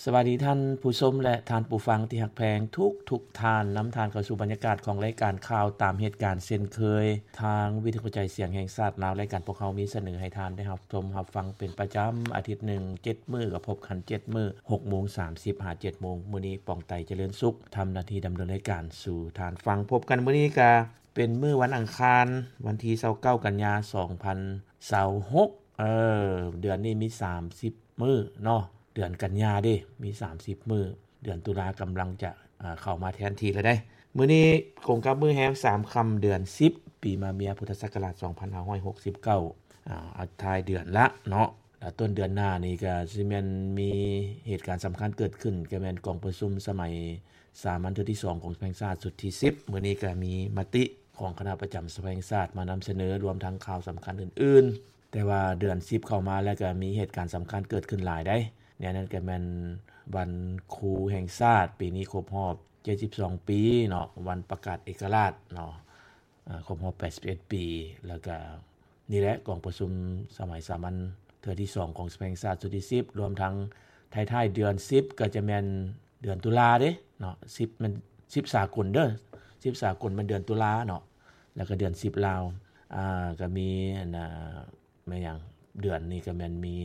ສະບາຍດີທ່ານຜູ້ຊົມ ແລະ ທ່ານຜູ້ຟັງທີ່ຮັກແພງທຸກໆທ່ານ. ນຳທ່ານເຂົ້າສູ່ບັນຍາກາດຂອງລາຍການຂ່າວຕາມເຫດການເຊັ່ນເຄີຍ. ທາງວິທຍຸກະຈາຍສຽງແຫ່ງຊາດລາວ, ລາຍການພວກເຮົາມີສະເໜີໃຫ້ທ່ານໄດ້ຮັບຊົມຮັບຟັງເປັນປະຈຳ, ອາທິດໜຶ່ງເຈັດມື້ກໍພົບກັນເຈັດມື້, ຫົກໂມງສາມສິບຫາເຈັດໂມງ. ມື້ນີ້ ປອງໄຕ ຈະເລີນສຸກ ທຳໜ້າທີ່ດຳເນີນລາຍການສູ່ທ່ານຟັງ. ພົບກັນມື້ນີ້ກະເປັນມື້ວັນອັງຄານ, ວັນທີຊາວເກົ້າ ກັນຍາ ສອງພັນຊາວຫົກ. ເອີ ເດືອນນີ້ມີສາມສິບມື້ເນາະ, ເດືອນກັນຍາເດ້ ມີສາມສິບມື້, ເດືອນຕຸລາກຳລັງຈະ ອາ ເຂົ້າມາແທນທີ່ແລ້ວເດ້. ມື້ນີ້ກົງກັບມື້ແຮມສາມຄ່ຳ ເດືອນສິບ ປີມະເມຍ ພຸດທະສັກກະລາດ ສອງພັນຫ້າຮ້ອຍຫົກສິບເກົ້າ ອາ ອາ ທ້າຍເດືອນລະເນາະ. ແລ້ວຕົ້ນເດືອນໜ້ານີ້ກໍຊິແມ່ນມີເຫດການສຳຄັນເກີດຂຶ້ນ, ກໍແມ່ນກອງປະຊຸມສະໄໝສາມັນເທື່ອທີສອງຂອງສະພາແຫ່ງຊາດຊຸດທີສິບ. ມື້ນີ້ກໍມີມະຕິຂອງຄະນະປະຈຳສະພາແຫ່ງຊາດມານຳສະເໜີ, ລວມທັງຂ່າວສຳຄັນອື່ນໆ. ແຕ່ວ່າເດືອນສິບເຂົ້າມາແລ້ວກໍມີເຫດການສຳຄັນເກີດຂຶ້ນຫຼາຍໃດ໋. ໃນນັ້ນກໍແມ່ນວັນຄູແຫ່ງຊາດ, ປີນີ້ຄົບຮອບເຈັດສິບສອງປີເນາະ, ວັນປະກາດເອກະລາດເນາະ, ອາ ຄົບຮອບແປດສິບເອັດປີ. ແລ້ວກໍນີ້ແຫຼະ ກອງປະຊຸມສະໄໝສາມັນເທື່ອທີສອງຂອງສະພາແຫ່ງຊາດຊຸດທີສິບ, ລວມທັງທ້າຍໆເດືອນສິບ ກໍຈະແມ່ນເດືອນຕຸລາເດ້ເນາະ, ສິບແມ່ນສິບສາກົນເດີ, ສິບສາກົນແມ່ນເດືອນຕຸລາເນາະ. ແລ້ວກໍເດືອນສິບລາວ ອາ ກໍມີອັນນ່າ ແມ່ນຫຍັງ ເດືອນນີ້ກໍແມ່ນມີ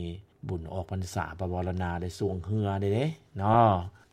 ບຸນອອກພັນສາ ພະວໍລະນາ ໄດ້ຊ່ວງເຮືອໄດ້ເດ້ເນາະ.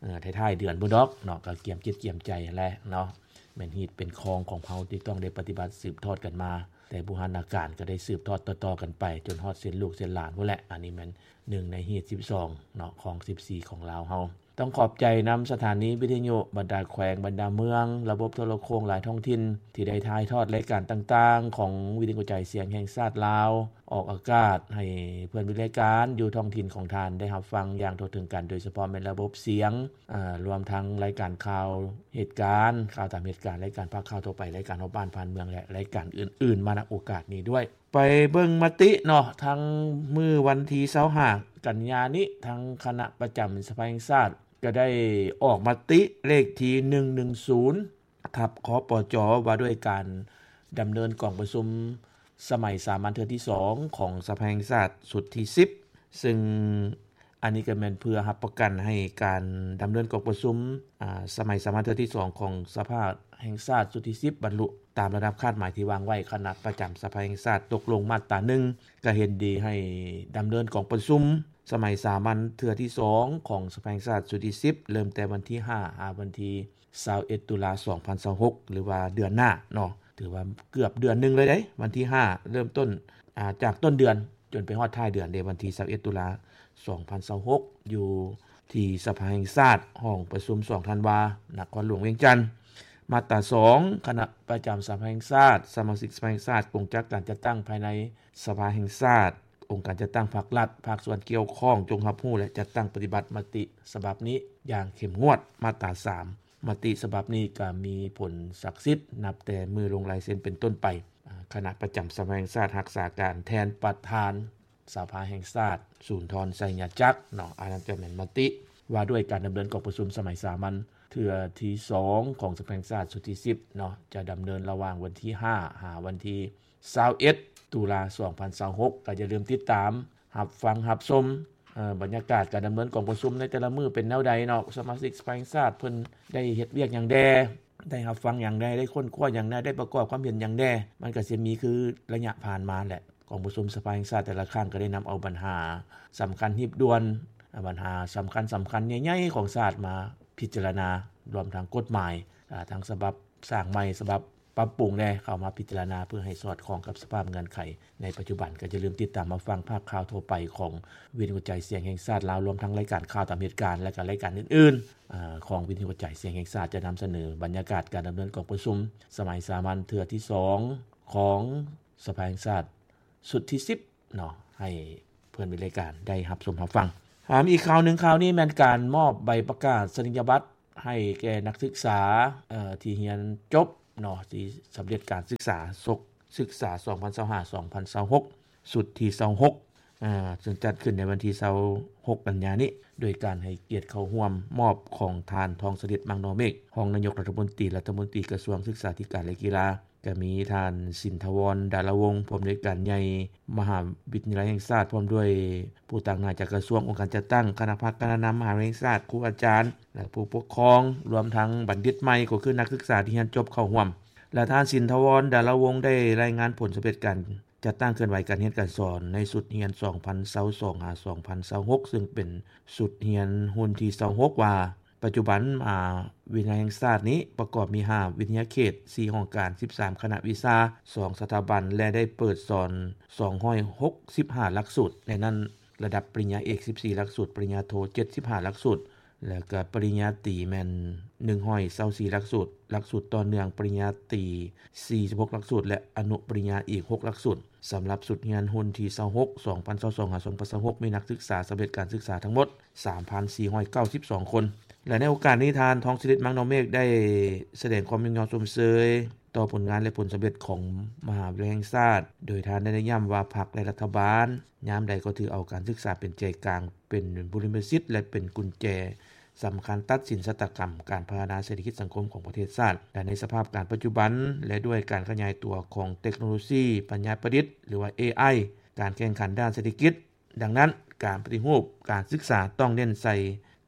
ເອີ ທ້າຍໆເດືອນພຸ້ນດອກເນາະ, ກໍກຽມຈິດກຽມໃຈຫັ້ນແຫຼະເນາະ, ແມ່ນຮີດເປັນຄອງຂອງເຮົາທີ່ຕ້ອງໄດ້ປະຕິບັດສືບທອດກັນມາ ແຕ່ບູຮານາການ ກໍໄດ້ສືບທອດຕໍ່ໆກັນໄປຈົນຮອດເຊັ່ນລູກເຊັ່ນຫຼານພຸ້ນແຫຼະ. ອັນນີ້ແມ່ນໜຶ່ງໃນຮີດສິບສອງເນາະ ຄອງສິບສີ່ຂອງລາວເຮົາ. ຕ້ອງຂອບໃຈນຳສະຖານີວິທະຍຸ, ບັນດາແຂວງ, ບັນດາເມືອງ, ລະບົບໂທລະໂຄ່ງຫຼາຍທ້ອງຖິ່ນ ທີ່ໄດ້ຖ່າຍທອດລາຍການຕ່າງໆຂອງວິທະຍຸກະຈາຍສຽງແຫ່ງຊາດລາວ ອອກອາກາດໃຫ້ເພື່ອນເບິ່ງລາຍການຢູ່ທ້ອງຖິ່ນຂອງທ່ານໄດ້ຮັບຟັງຢ່າງທົ່ວເຖິງກັນ, ໂດຍສະເພາະແມ່ນລະບົບສຽງ, ອາ, ລວມທັງລາຍການຂ່າວເຫດການ, ຂ່າວຕາມເຫດການ, ລາຍການພາກຂ່າວທົ່ວໄປ, ລາຍການຮອບບ້ານຜ່ານເມືອງ ແລະ ລາຍການອື່ນໆ ມານຳໂອກາດນີ້ດ້ວຍ. ໄປເບິ່ງມະຕິເນາະ, ທັງມື້ວັນທີຊາວຫ້າກັນຍານີ້ ທາງຄະນະປະຈຳສະພາແຫ່ງຊາດ ກໍໄດ້ອອກມະຕິເລກທີໜຶ່ງໜຶ່ງສູນ ທັບ ຄປຈ ວ່າດ້ວຍການດຳເນີນກອງປະຊຸມສະໄໝສາມັນເທື່ອທີສອງຂອງສະພາແຫ່ງຊາດຊຸດທີສິບ ຊຶ່ງ ອັນນີ້ກໍແມ່ນເພື່ອຮັບປະກັນໃຫ້ການດຳເນີນກອງປະຊຸມ, ອາ, ສະໄໝສາມັນເທື່ອທີສອງຂອງສະພາແຫ່ງຊາດຊຸດທີສິບ ບັນລຸຕາມລະດັບຄາດໝາຍທີ່ວາງໄວ້. ຄະນະປະຈຳສະພາແຫ່ງຊາດຕົກລົງມາດຕາໜຶ່ງ ກໍເຫັນດີໃຫ້ດຳເນີນກອງປະຊຸມສະໄໝສາມັນເທື່ອທີສອງຂອງສະພາແຫ່ງຊາດຊຸດທີສິບ ເລີ່ມແຕ່ວັນທີຫ້າ ຫາວັນທີຊາວເອັດ ຕຸລາ ສອງພັນຊາວຫົກ ຫຼືວ່າເດືອນໜ້າເນາະ. ຖືວ່າເກືອບເດືອນໜຶ່ງເລີຍເດ້, ວັນທີຫ້າເລີ່ມຕົ້ນ, ອາ, ຈາກຕົ້ນເດືອນຈົນໄປຮອດທ້າຍເດືອນເດ້, ວັນທີຊາວເອັດ ຕຸລາ ສອງພັນຊາວຫົກ ຢູ່ທີ່ສະພາແຫ່ງຊາດ ຫ້ອງປະຊຸມສອງທັນວາ ນະຄອນຫຼວງວຽງຈັນ. ມາດຕາສອງ ຄະນະປະຈຳສະພາແຫ່ງຊາດ, ສະມາຊິກສະພາແຫ່ງຊາດ, ກົງຈັກການຈັດຕັ້ງພາຍໃນສະພາແຫ່ງຊາດ, ອົງການຈັດຕັ້ງພາກລັດ, ພາກສ່ວນກ່ຽວຂ້ອງ ຈົ່ງຮັບຮູ້ ແລະ ຈັດຕັ້ງປະຕິບັດມະຕິສະບັບນີ້ຢ່າງເຂັ້ມງວດ. ມາດຕາສາມ ມະຕິສະບັບນີ້ກໍມີຜົນສັກສິດນັບແຕ່ມື້ລົງລາຍເຊັນເປັນຕົ້ນໄປ. ອາ, ຄະນະປະຈຳສະພາແຫ່ງຊາດຮັກສາການແທນປະທານສະພາແຫ່ງຊາດ ສູນທອນ ໄຊຍະຈັກ ເນາະ. ອັນນັ້ນກໍແມ່ນມະຕິວ່າດ້ວຍການດຳເນີນກອງປະຊຸມສະໄໝສາມັນເທື່ອທີສອງຂອງສະພາແຫ່ງຊາດຊຸດທີສິບເນາະ, ຈະດຳເນີນລະຫວ່າງວັນທີຫ້າ ຫາວັນທີຊາວເອັດ ຕຸລາ ສອງພັນຊາວຫົກ. ກໍຢ່າລືມຕິດຕາມ ຮັບຟັງຮັບຊົມ, ເອີ, ບັນຍາກາດການດຳເນີນກອງປະຊຸມໃນແຕ່ລະມື້ເປັນແນວໃດເນາະ, ສະມາຊິກສະພາແຫ່ງຊາດເພິ່ນໄດ້ເຮັດວຽກຫຍັງແດ່, ໄດ້ຮັບຟັງຫຍັງແດ່, ໄດ້ຄົ້ນຄວ້າຫຍັງແດ່, ໄດ້ປະກອບຄວາມເຫັນຫຍັງແດ່. ມັນກໍຊິມີຄືໄລຍະຜ່ານມາແຫຼະ, ກອງປະຊຸມສະພາແຫ່ງຊາດແຕ່ລະຄັ້ງກໍໄດ້ນຳເອົາບັນຫາສຳຄັນຮີບດ່ວນ, ບັນຫາສຳຄັນໆ ໃຫຍ່ໆຂອງຊາດມາພິຈາລະນາ, ລວມທັງກົດໝາຍ, ອາ, ທັງສະບັບສ້າງໃໝ່, ສະບັບ ປັບປຸງແດ່ ເຂົ້າມາພິຈາລະນາເພື່ອໃຫ້ສອດຄ່ອງກັບສະພາບເງື່ອນໄຂໃນປັດຈຸບັນ. ກໍຢ່າລືມຕິດຕາມຮັບຟັງພາກຂ່າວທົ່ວໄປຂອງວິທະຍຸກະຈາຍສຽງແຫ່ງຊາດລາວ, ລວມທັງລາຍການຂ່າວຕາມເຫດການ ແລະ ກໍລາຍການອື່ນໆ ອາ, ຂອງວິທະຍຸກະຈາຍສຽງແຫ່ງຊາດ ຈະນຳສະເໜີບັນຍາກາດການດຳເນີນກອງປະຊຸມສະໄໝສາມັນເທື່ອທີສອງຂອງສະພາແຫ່ງຊາດຊຸດທີສິບ ເນາະ ໃຫ້ເພື່ອນເບິ່ງລາຍການໄດ້ຮັບຊົມຮັບຟັງ. ອາ ມີອີກຂ່າວໜຶ່ງ, ຂ່າວນີ້ແມ່ນການມອບໃບປະກາດສະນີຍະບັດໃຫ້ແກ່ນັກສຶກສາ ເອີ ທີ່ຮຽນຈົບເນາະ ທີ່ສຳເລັດການສຶກສາສົກສຶກສາ ສອງພັນຊາວຫ້າ ສອງພັນຊາວຫົກ ຊຸດທີຊາວຫົກ ອາ ເຊິ່ງຈັດຂຶ້ນໃນວັນທີຊາວຫົກ ກັນຍານີ້ ໂດຍການໃຫ້ກຽດເຂົ້າຮ່ວມມອບຂອງທ່ານ ທອງສະລິດ ມັງນໍເມກ ຮອງນາຍົກລັດຖະມົນຕີ ລັດຖະມົນຕີກະຊວງສຶກສາທິການ ແລະ ກິລາ. ກໍມີທ່ານ ສິນທະວອນ ດາລະວົງ ຜູ້ອຳນວຍການໃຫຍ່ມະຫາວິທະຍາໄລແຫ່ງຊາດ ພ້ອມດ້ວຍຜູ້ຕາງໜ້າຈາກກະຊວງ, ອົງການຈັດຕັ້ງ, ຄະນະພັກ, ຄະນະນຳມະຫາວິທະຍາໄລແຫ່ງຊາດ, ຄູອາຈານ ແລະ ຜູ້ປົກຄອງ, ລວມທັງບັນດິດໃໝ່ ກໍຄືນັກສຶກສາທີ່ຮຽນຈົບເຂົ້າຮ່ວມ. ແລະ ທ່ານ ສິນທະວອນ ດາລະວົງ ໄດ້ລາຍງານຜົນສຳເລັດການຈັດຕັ້ງເຄື່ອນໄຫວການຮຽນການສອນໃນຊຸດຮຽນສອງພັນຊາວສອງ ຫາ ສອງພັນຊາວຫົກ ຊຶ່ງເປັນຊຸດຮຽນຮຸ່ນທີຊາວຫົກ ວ່າ ປັດຈຸບັນມະຫາວິທະຍາໄລແຫ່ງຊາດນີ້ປະກອບມີຫ້າວິທະຍາເຂດ, ສີ່ຫ້ອງການ, ສິບສາມຄະນະວິຊາ, ສອງສະຖາບັນ ແລະ ໄດ້ເປີດສອນສອງຮ້ອຍຫົກສິບຫ້າຫຼັກສູດ, ໃນນັ້ນລະດັບປະລິນຍາເອກສິບສີ່ຫຼັກສູດ, ປະລິນຍາໂທເຈັດສິບຫ້າຫຼັກສູດ ແລະ ກະປະລິນຍາຕີແມ່ນໜຶ່ງຮ້ອຍຊາວສີ່ຫຼັກສູດ, ຫຼັກສູດຕໍ່ເນື່ອງປະລິນຍາຕີສີ່ສິບຫົກຫຼັກສູດ ແລະ ອະນຸປະລິນຍາອີກຫົກຫຼັກສູດ. ສຳລັບຊຸດຮຽນຮຸ່ນທີຊາວຫົກ ສອງພັນຊາວສອງ ຫາ ສອງພັນຊາວຫົກ ມີນັກສຶກສາສຳເລັດການສຶກສາທັງໝົດ ສາມພັນສີ່ຮ້ອຍເກົ້າສິບສອງຄົນ ແລະ ໃນໂອກາດນີ້ ທ່ານ ທອງສະລິດ ມັງນອງເມກ ໄດ້ສະແດງຄວາມຍ້ອງຍໍຊົມເຊີຍຕໍ່ຜົນງານ ແລະ ຜົນສຳເລັດຂອງມະຫາວິທະຍາໄລແຫ່ງຊາດ, ໂດຍທ່ານໄດ້ເນັ້ນຢ້ຳວ່າ ພັກ ແລະ ລັດຖະບານຍາມໃດກໍຖືເອົາການສຶກສາເປັນໃຈກາງ, ເປັນບຸລິມະສິດ ແລະ ເປັນກຸນແຈສຳຄັນຕັດສິນຊະຕາກຳການພັດທະນາເສດຖະກິດສັງຄົມຂອງປະເທດຊາດ ແລະ ໃນສະພາບການປັດຈຸບັນ ແລະ ດ້ວຍການຂະຫຍາຍຕົວຂອງເຕັກໂນໂລຊີປັນຍາປະດິດ ຫຼືວ່າ ເອໄອ, ການແຂ່ງຂັນດ້ານເສດຖະກິດ, ດັ່ງນັ້ນ ການປະຕິຮູບການສຶກສາຕ້ອງເນັ້ນໃສ່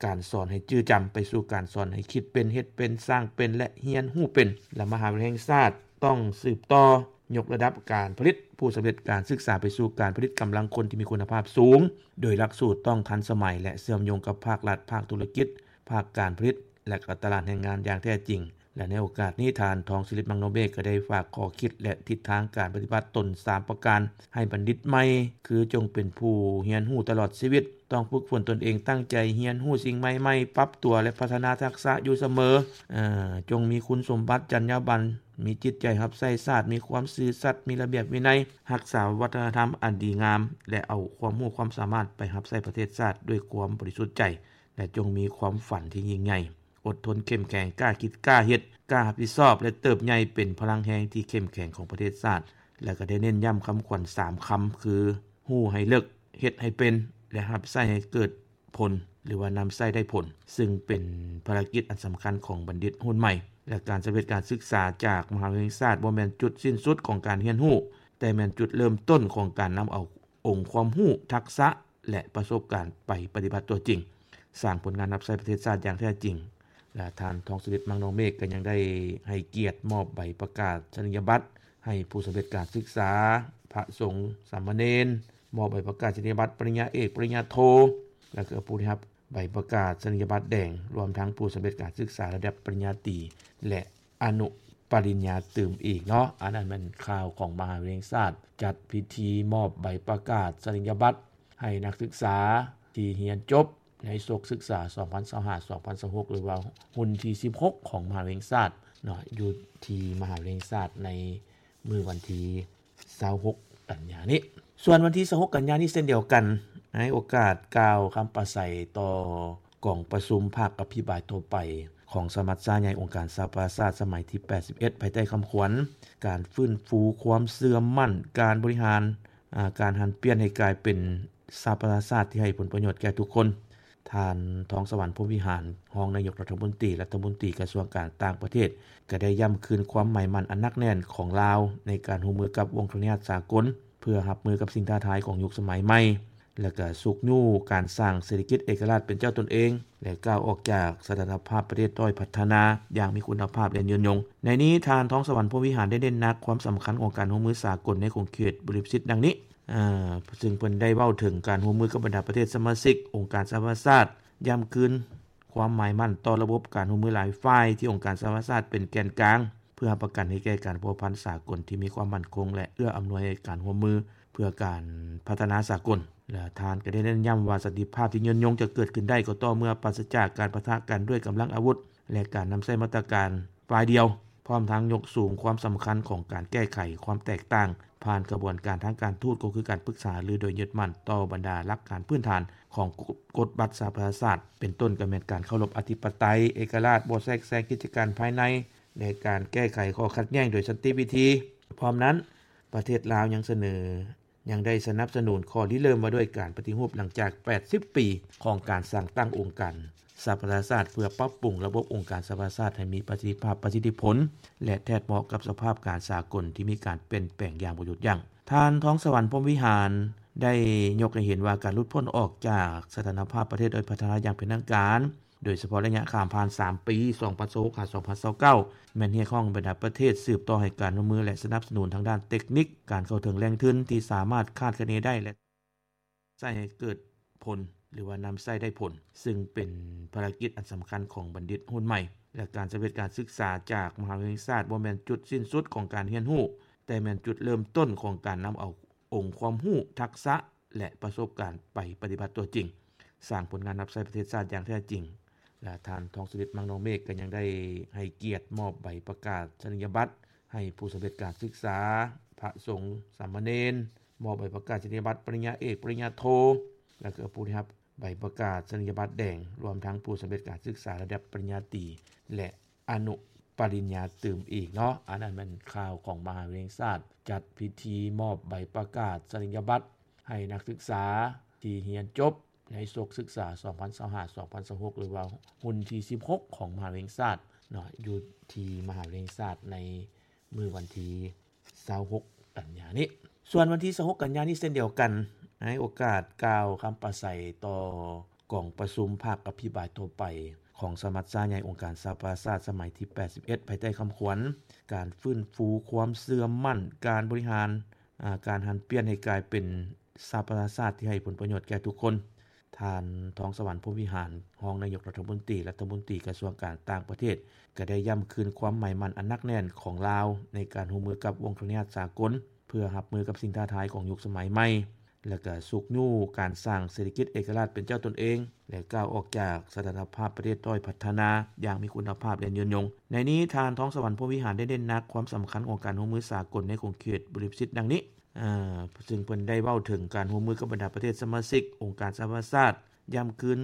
ການສອນໃຫ້ຈື່ຈຳ ໄປສູ່ການສອນໃຫ້ຄິດເປັນ, ເຮັດເປັນ, ສ້າງເປັນ ແລະ ຮຽນຮູ້ເປັນ ແລະ ມະຫາວິທະຍາໄລແຫ່ງຊາດຕ້ອງສືບຕໍ່ຍົກລະດັບການຜະລິດຜູ້ສຳເລັດການສຶກສາໄປສູ່ການຜະລິດກຳລັງຄົນທີ່ມີຄຸນນະພາບສູງ, ໂດຍຫຼັກສູດຕ້ອງທັນສະໄໝ ແລະ ເຊື່ອມໂຍງກັບພາກລັດ, ພາກທຸລະກິດ, ພາກການຜະລິດ ແລະ ກໍຕະຫຼາດແຮງງານຢ່າງແທ້ຈິງ. ແລະ ໃນໂອກາດນີ້ ທ່ານ ທອງສະລິດ ມັງນອງເມກ ກໍໄດ້ຝາກຂໍ້ຄິດ ແລະ ທິດທາງການປະຕິບັດຕົນສາມປະການໃຫ້ບັນດິດໃໝ່ ຄື ຈົ່ງເປັນຜູ້ຮຽນຮູ້ຕະຫຼອດຊີວິດ, ຕ້ອງຝຶກຝົນຕົນເອງ, ຕັ້ງໃຈຮຽນຮູ້ສິ່ງໃໝ່ໆ, ປັບຕົວ ແລະ ພັດທະນາທັກສະຢູ່ສະເໝີ, ເອີ່ ຈົ່ງມີຄຸນສົມບັດ, ຈັນຍາບັນ, ມີຈິດໃຈຮັບໃຊ້ຊາດ, ມີຄວາມຊື່ສັດ, ມີລະບຽບວິໄນ, ຮັກສາວັດທະນະທຳອັນດີງາມ ແລະ ເອົາຄວາມຮູ້ຄວາມສາມາດໄປຮັບໃຊ້ປະເທດຊາດດ້ວຍຄວາມບໍລິສຸດໃຈ ແລະ ຈົ່ງມີຄວາມຝັນທີ່ຍິ່ງໃຫຍ່. ອົດທົນເຂັ້ມແຂງ, ກ້າຄິດ, ກ້າເຮັດ, ກ້າຮັບຜິດຊອບ ແລະ ເຕີບໃຫຍ່ເປັນພະລັງແຮງທີ່ເຂັ້ມແຂງຂອງປະເທດຊາດ ແລະ ກໍໄດ້ເນັ້ນຢ້ຳຄຳຂວັນສາມຄຳ ຄື ຮູ້ໃຫ້ເລິກ, ເຮັດໃຫ້ເປັນ ແລະ ຮັບໃຊ້ໃຫ້ເກີດຜົນ ຫຼືວ່ານຳໃຊ້ໄດ້ຜົນ, ຊຶ່ງເປັນພາລະກິດອັນສຳຄັນຂອງບັນດິດຮຸ່ນໃໝ່ ແລະ ການສຳເລັດການສຶກສາຈາກມະຫາວິທະຍາໄລແຫ່ງຊາດບໍ່ແມ່ນຈຸດສິ້ນສຸດຂອງການຮຽນຮູ້, ແຕ່ແມ່ນຈຸດເລີ່ມຕົ້ນຂອງການນຳເອົາອົງຄວາມຮູ້, ທັກສະ ແລະ ປະສົບການໄປປະຕິບັດຕົວຈິງ, ສ້າງຜົນງານຮັບໃຊ້ປະເທດຊາດຢ່າງແທ້ຈິງ. ແລະ ທ່ານ ທອງສະລິດ ມັງນອງເມກ ກໍຍັງໄດ້ໃຫ້ກຽດມອບໃບປະກາສະນີຍະບັດໃຫ້ຜູ້ສຳເລັດການສຶກສາ, ພະສົງ, ສາມະເນນ, ມອບໃບປະກາສະນີຍະບັດປະລິນຍາເອກ, ປະລິນຍາໂທ ແລະ ກໍຜູ້ໄດ້ຮັບໃບປະກາສະນີຍະບັດແດງ, ລວມທັງຜູ້ສຳເລັດການສຶກສາລະດັບປະລິນຍາຕີ ແລະ ອະນຸປະລິນຍາຕື່ມອີກເນາະ. ອັນນັ້ນແມ່ນຂ່າວຂອງມະຫາວິທະຍາໄລແຫ່ງຊາດ ຈັດພິທີມອບໃບປະກາສະນີຍະບັດໃຫ້ນັກສຶກສາທີ່ຮຽນຈົບໃນສົກສຶກສາສອງພັນຊາວຫ້າ ສອງພັນຊາວຫົກ ຫຼືວ່າຮຸ່ນທີສິບຫົກຂອງມະຫາວິທະຍາໄລແຫ່ງຊາດເນາະ, ຢູ່ທີ່ມະຫາວິທະຍາໄລແຫ່ງຊາດໃນມື້ວັນທີຊາວຫົກກັນຍານີ້. ສ່ວນວັນທີຊາວຫົກກັນຍານີ້ເຊັ່ນດຽວກັນ, ໃນໂອກາດກ່າວຄຳປາໄສຕໍ່ ກອງປະຊຸມພາກອະພິບາຍທົ່ວໄປຂອງສະມັດຊາໃຫຍ່ອົງການສະຫະປະຊາຊາດສະໄໝທີແປດສິບເອັດ ພາຍໃຕ້ຄຳຂວັນ ການຟື້ນຟູຄວາມເຊື່ອໝັ້ນ, ການບໍລິຫານ, ອາ, ການຫັນປ່ຽນໃຫ້ກາຍເປັນສະຫະປະຊາຊາດທີ່ໃຫ້ຜົນປະໂຫຍດແກ່ທຸກຄົນ. ທ່ານ ທອງສະຫວັນ ພົມວິຫານ ຮອງນາຍົກລັດຖະມົນຕີ, ລັດຖະມົນຕີກະຊວງການຕ່າງປະເທດ ກໍໄດ້ຢ້ຳຄືນຄວາມໝາຍໝັ້ນອັນໜັກແໜ້ນຂອງລາວໃນການຮ່ວມມືກັບວົງຄະລະຍາດສາກົນ ເພື່ອຮັບມືກັບສິ່ງທ້າທາຍຂອງຍຸກສະໄໝໃໝ່. ແລະ ກະຊຸກຍູ້ການສ້າງເສດຖະກິດເອກະລາດເປັນເຈົ້າຕົນເອງ ແລະ ກ້າວອອກຈາກສະຖານະພາບປະເທດດ້ອຍພັດທະນາຢ່າງມີຄຸນນະພາບ ແລະ ຍືນຍົງ. ໃນນີ້ ທ່ານ ທອງສະຫວັນ ພົມວິຫານ ໄດ້ເນັ້ນໜັກຄວາມສຳຄັນຂອງການຮ່ວມມືສາກົນໃນຂົງເຂດບໍລິມະສິດດັ່ງນີ້, ເຊິ່ງເພິ່ນໄດ້ເວົ້າເຖິງການຮ່ວມມືກັບບັນດາປະເທດສະມາຊິກອົງການສະຫະປະຊາຊາດ, ຢ້ຳຄືນຄວາມໝາຍໝັ້ນຕໍ່ລະບົບການຮ່ວມມືຫຼາຍຝ່າຍທີ່ອົງການສະຫະປະຊາຊາດເປັນແກນກາງ ເພື່ອຮັບປະກັນໃຫ້ແກ່ການພົວພັນສາກົນທີ່ມີຄວາມໝັ້ນຄົງ ແລະ ເອື້ອອຳນວຍໃຫ້ການຮ່ວມມືເພື່ອການພັດທະນາສາກົນ. ແລະ ທ່ານກໍໄດ້ເນັ້ນຢ້ຳວ່າ ສັນຕິພາບທີ່ຍືນຍົງຈະເກີດຂຶ້ນໄດ້ກໍຕໍ່ເມື່ອປາສະຈາກການປະທະກັນດ້ວຍກຳລັງອາວຸດ ແລະ ການນຳໃຊ້ມາດຕະການຝ່າຍດຽວ, ພ້ອມທັງຍົກສູງຄວາມສຳຄັນຂອງການແກ້ໄຂຄວາມແຕກຕ່າງ ຜ່ານຂະບວນການທາງການທູດ ກໍຄືການປຶກສາຫາລືໂດຍຍຶດໝັ້ນຕໍ່ບັນດາຫຼັກການພື້ນຖານຂອງກົດບັດສະຫະປະຊາຊາດ, ເປັນຕົ້ນກໍແມ່ນການເຄົາລົບອະທິປະໄຕ, ເອກະລາດ, ບໍ່ແຊກແຊງກິດຈະການພາຍໃນ ແລະ ການແກ້ໄຂຂໍ້ຂັດແຍ່ງໂດຍສັນຕິວິທີ. ພ້ອມນັ້ນ, ປະເທດລາວຍັງສະເໜີ ຍັງໄດ້ສະໜັບສະໜູນຂໍ້ລິເລີ່ມວ່າດ້ວຍການປະຕິຮູບຫຼັງຈາກແປດສິບປີຂອງການສ້າງຕັ້ງອົງການສະຫະປະຊາຊາດ ເພື່ອປັບປຸງລະບົບອົງການສະຫະປະຊາຊາດໃຫ້ມີປະສິດທິພາບ, ປະສິດທິຜົນ ແລະ ແທດເໝາະກັບສະພາບການສາກົນທີ່ມີການປ່ຽນແປງຢ່າງບໍ່ຢຸດຢັ້ງ. ທ່ານ ທອງສະຫວັນ ພົມວິຫານ ໄດ້ຍົກໃຫ້ເຫັນວ່າການຫຼຸດພົ້ນອອກຈາກສະຖານະພາບປະເທດດ້ອຍພັດທະນາຢ່າງເປັນທາງການ ໂດຍສະເພາະໄລຍະຂ້າມຜ່ານສາມປີ ສອງພັນຊາວຫົກ ຫາ ສອງພັນຊາວເກົ້າ ແມ່ນຮຽກຮ້ອງບັນດາປະເທດສືບຕໍ່ໃຫ້ການຮ່ວມມື ແລະ ສະໜັບສະໜູນທາງດ້ານເຕັກນິກ, ການເຂົ້າເຖິງແຫຼ່ງທຶນທີ່ສາມາດຄາດຄະເນໄດ້ ແລະ ໃຊ້ໃຫ້ເກີດຜົນ ຫຼືວ່ານຳໃຊ້ໄດ້ຜົນ, ຊຶ່ງເປັນພາລະກິດອັນສຳຄັນຂອງບັນດິດຮຸ່ນໃໝ່ ແລະ ການສຳເລັດການສຶກສາຈາກມະຫາວິທະຍາໄລແຫ່ງຊາດບໍ່ແມ່ນຈຸດສິ້ນສຸດຂອງການຮຽນຮູ້, ແຕ່ແມ່ນຈຸດເລີ່ມຕົ້ນຂອງການນຳເອົາອົງຄວາມຮູ້, ທັກສະ ແລະ ປະສົບການໄປປະຕິບັດຕົວຈິງ, ສ້າງຜົນງານຮັບໃຊ້ປະເທດຊາດຢ່າງແທ້ຈິງ. ແລະ ທ່ານ ທອງສະລິດ ມັງນອງເມກ ກໍຍັງໄດ້ໃຫ້ກຽດມອບໃບປະກາສະນີຍະບັດໃຫ້ຜູ້ສຳເລັດການສຶກສາ, ພະສົງ, ສາມະເນນ, ມອບໃບປະກາສະນີຍະບັດປະລິນຍາເອກ, ປະລິນຍາໂທ ແລະ ກໍຜູ້ໄດ້ຮັບໃບປະກາສະນີຍະບັດແດງ, ລວມທັງຜູ້ສຳເລັດການສຶກສາລະດັບປະລິນຍາຕີ ແລະ ອະນຸປະລິນຍາຕື່ມອີກເນາະ. ອັນນັ້ນແມ່ນຂ່າວຂອງມະຫາວິທະຍາໄລແຫ່ງຊາດ ຈັດພິທີມອບໃບປະກາສະນີຍະບັດໃຫ້ນັກສຶກສາທີ່ຮຽນຈົບໃນສົກສຶກສາ ສອງພັນຊາວຫ້າ ສອງພັນຊາວຫົກ ຫຼືວ່າຮຸ່ນທີສິບຫົກຂອງມະຫາວິທະຍາໄລແຫ່ງຊາດເນາະ, ຢູ່ທີ່ມະຫາວິທະຍາໄລແຫ່ງຊາດໃນມື້ວັນທີຊາວຫົກກັນຍານີ້. ສ່ວນວັນທີຊາວຫົກກັນຍານີ້ເຊັ່ນດຽວກັນ, ໃນໂອກາດກ່າວຄຳປາໄສຕໍ່ກອງປະຊຸມພາກອະພິປາຍທົ່ວໄປຂອງສະມັດຊາໃຫຍ່ອົງການສະຫະປະຊາຊາດສະໄໝທີແປດສິບເອັດ ພາຍໃຕ້ຄຳຂວັນ ການຟື້ນຟູຄວາມເຊື່ອໝັ້ນການບໍລິຫານ, ອາ, ການຫັນປ່ຽນໃຫ້ກາຍເປັນສະຫະປະຊາຊາດທີ່ໃຫ້ຜົນປະໂຫຍດແກ່ທຸກຄົນ. ທ່ານ ທອງສະຫວັນ ພົມວິຫານ ຮອງນາຍົກລັດຖະມົນຕີ, ລັດຖະມົນຕີກະຊວງການຕ່າງປະເທດ ກໍໄດ້ຢ້ຳຄືນຄວາມໝາຍໝັ້ນອັນໜັກແໜ້ນຂອງລາວໃນການຮ່ວມມືກັບວົງຄະລະຍາດສາກົນ ເພື່ອຮັບມືກັບສິ່ງທ້າທາຍຂອງຍຸກສະໄໝໃໝ່ ແລະ ກະຊຸກຍູ້ການສ້າງເສດຖະກິດເອກະລາດເປັນເຈົ້າຕົນເອງ ແລະ ກ້າວອອກຈາກສະຖານະພາບປະເທດດ້ອຍພັດທະນາຢ່າງມີຄຸນນະພາບ ແລະ ຍືນຍົງ. ໃນນີ້ ທ່ານ ທອງສະຫວັນ ພົມວິຫານ ໄດ້ເນັ້ນໜັກຄວາມສຳຄັນຂອງການຮ່ວມມືສາກົນໃນຂົງເຂດບໍລິມະສິດດັ່ງນີ້, ເຊິ່ງເພິ່ນໄດ້ເວົ້າເຖິງການຮ່ວມມືກັບບັນດາປະເທດສະມາຊິກອົງການສະຫະປະຊາຊາດ, ຢ້ຳຄືນ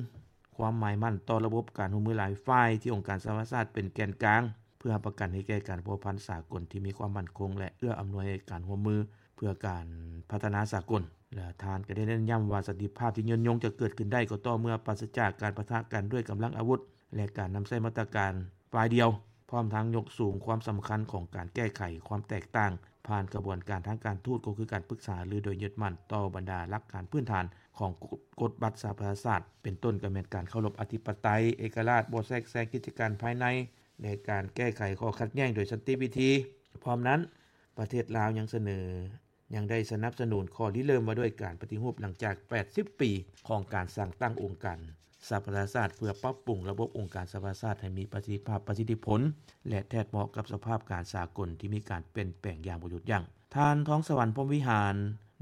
ຄວາມໝາຍໝັ້ນຕໍ່ລະບົບການຮ່ວມມືຫຼາຍຝ່າຍທີ່ອົງການສະຫະປະຊາຊາດເປັນແກນກາງ ເພື່ອຮັບປະກັນໃຫ້ແກ່ການພົວພັນສາກົນທີ່ມີຄວາມໝັ້ນຄົງ ແລະ ເອື້ອອຳນວຍໃຫ້ການຮ່ວມມືເພື່ອການພັດທະນາສາກົນ. ແລະ ທ່ານກໍໄດ້ເນັ້ນຢ້ຳວ່າ ສັນຕິພາບທີ່ຍືນຍົງຈະເກີດຂຶ້ນໄດ້ກໍຕໍ່ເມື່ອປາສະຈາກການປະທະກັນດ້ວຍກຳລັງອາວຸດ ແລະ ການນຳໃຊ້ມາດຕະການ ຝ່າຍດຽວ, ພ້ອມທັງຍົກສູງຄວາມສຳຄັນຂອງການແກ້ໄຂຄວາມແຕກຕ່າງ ຜ່ານຂະບວນການທາງການທູດ, ກໍຄືການປຶກສາຫາລືໂດຍຍຶດໝັ້ນຕໍ່ບັນດາຫຼັກການພື້ນຖານຂອງກົດບັດສະຫະປະຊາຊາດ, ເປັນຕົ້ນກໍແມ່ນການເຄົາລົບອະທິປະໄຕ, ເອກະລາດ, ບໍ່ແຊກແຊງກິດຈະການພາຍໃນ ແລະ ການແກ້ໄຂຂໍ້ຂັດແຍ່ງໂດຍສັນຕິວິທີ. ພ້ອມນັ້ນ, ປະເທດລາວຍັງສະເໜີ ຍັງໄດ້ສະໜັບສະໜູນຂໍ້ລິເລີ່ມວ່າດ້ວຍການປະຕິຮູບຫຼັງຈາກແປດສິບປີຂອງການສ້າງຕັ້ງອົງການສະຫະປະຊາຊາດ ເພື່ອປັບປຸງລະບົບອົງການສະຫະປະຊາຊາດໃຫ້ມີປະສິດທິພາບ, ປະສິດທິຜົນ ແລະ ແທດເໝາະກັບສະພາບການສາກົນທີ່ມີການປ່ຽນແປງຢ່າງບໍ່ຢຸດຢັ້ງ. ທ່ານ ທອງສະຫວັນ ພົມວິຫານ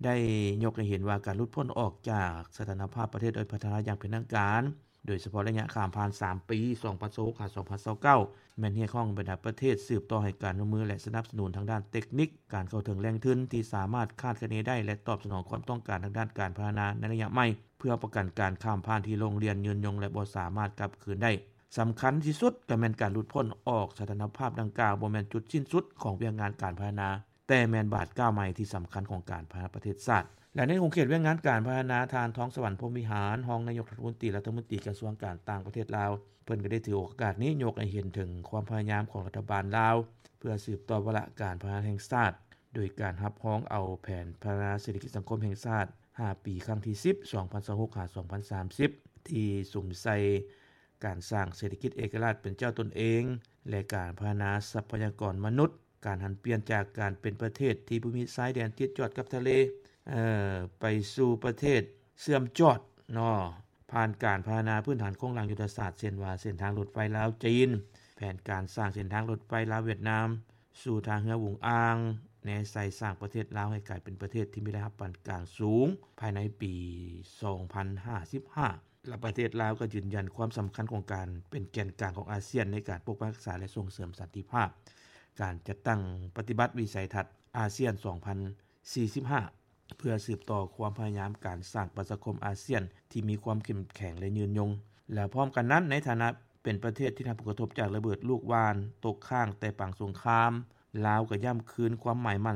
ໄດ້ຍົກໃຫ້ເຫັນວ່າການຫຼຸດພົ້ນອອກຈາກສະຖານະພາບປະເທດດ້ອຍພັດທະນາຢ່າງເປັນທາງການ ໂດຍສະເພາະໄລຍະຂ້າມຜ່ານສາມປີ ສອງພັນຊາວຫົກ ຫາ ສອງພັນຊາວເກົ້າ ແມ່ນຮຽກຮ້ອງບັນດາປະເທດສືບຕໍ່ໃຫ້ການຮ່ວມມື ແລະ ສະໜັບສະໜູນທາງດ້ານເຕັກນິກ, ການເຂົ້າເຖິງແຫຼ່ງທຶນທີ່ສາມາດຄາດຄະເນໄດ້ ແລະ ຕອບສະໜອງຄວາມຕ້ອງການທາງດ້ານການພັດທະນາໃນໄລຍະໃໝ່ ເພື່ອປະກັນການຂ້າມຜ່ານທີ່ໂລ່ງລ່ຽນຍືນຍົງ ແລະ ບໍ່ສາມາດກັບຄືນໄດ້. ສຳຄັນທີ່ສຸດກໍແມ່ນການຫຼຸດພົ້ນອອກສະຖານະພາບດັ່ງກ່າວບໍ່ແມ່ນຈຸດສິ້ນສຸດຂອງວຽກງານການພັດທະນາ, ແຕ່ແມ່ນບາດກ້າວໃໝ່ທີ່ສຳຄັນຂອງການພັດທະນາປະເທດຊາດ. ແລະ ໃນຂົງເຂດວຽກງານການພັດທະນາ, ທ່ານ ທອງສະຫວັນ ພົມວິຫານ ຮອງນາຍົກລັດຖະມົນຕີ, ລັດຖະມົນຕີກະຊວງການຕ່າງປະເທດລາວ ເພິ່ນກໍໄດ້ຖືໂອກາດນີ້ຍົກໃຫ້ເຫັນເຖິງຄວາມພະຍາຍາມຂອງລັດຖະບານລາວ ເພື່ອສືບຕໍ່ວາລະການພັດທະນາແຫ່ງຊາດ ໂດຍການຮັບຮອງເອົາແຜນພັດທະນາເສດຖະກິດສັງຄົມແຫ່ງຊາດ ຫ້າປີ ຄັ້ງທີສິບ ສອງພັນຊາວຫົກ ຫາ ສອງພັນສາມສິບ ທີ່ສຸມໃສ່ການສ້າງເສດຖະກິດເອກະລາດເປັນເຈົ້າຕົນເອງ ແລະ ການພັດທະນາຊັບພະຍາກອນມະນຸດ, ການຫັນປ່ຽນຈາກການເປັນປະເທດທີ່ບໍ່ມີຊາຍແດນຕິດຈອດກັບທະເລ ເອີ ໄປສູ່ປະເທດເຊື່ອມຈອດເນາະ ຜ່ານການພັດທະນາພື້ນຖານໂຄງລ່າງຍຸດທະສາດ ເຊັ່ນວ່າ ເສັ້ນທາງລົດໄຟລາວ-ຈີນ, ແຜນການສ້າງເສັ້ນທາງລົດໄຟລາວ-ຫວຽດນາມ ສູ່ທ່າເຮືອຫວຸງອ່າງ, ແນໃສ່ສ້າງປະເທດລາວໃຫ້ກາຍເປັນປະເທດທີ່ມີລາຍຮັບປານກາງສູງ ພາຍໃນປີສອງພັນຫ້າສິບຫ້າ ແລະ ປະເທດລາວກໍຢືນຢັນຄວາມສຳຄັນຂອງການເປັນແກນກາງຂອງອາຊຽນໃນການປົກປັກຮັກສາ ແລະ ສົ່ງເສີມສັນຕິພາບ, ການຈັດຕັ້ງປະຕິບັດວິໄສທັດອາຊຽນສອງພັນສີ່ສິບຫ້າ ເພື່ອສືບຕໍ່ຄວາມພະຍາຍາມການສ້າງປະຊາຄົມອາຊຽນທີ່ມີຄວາມເຂັ້ມແຂງ ແລະ ຍືນຍົງ. ແລະ ພ້ອມກັນນັ້ນ, ໃນຖານະເປັນປະເທດທີ່ໄດ້ຮັບຜົນກະທົບຈາກລະເບີດລູກຫວ່ານຕົກຄ້າງແຕ່ປາງສົງຄາມ, ລາວກໍຢ້ຳຄືນຄວາມໝາຍໝັ້ນ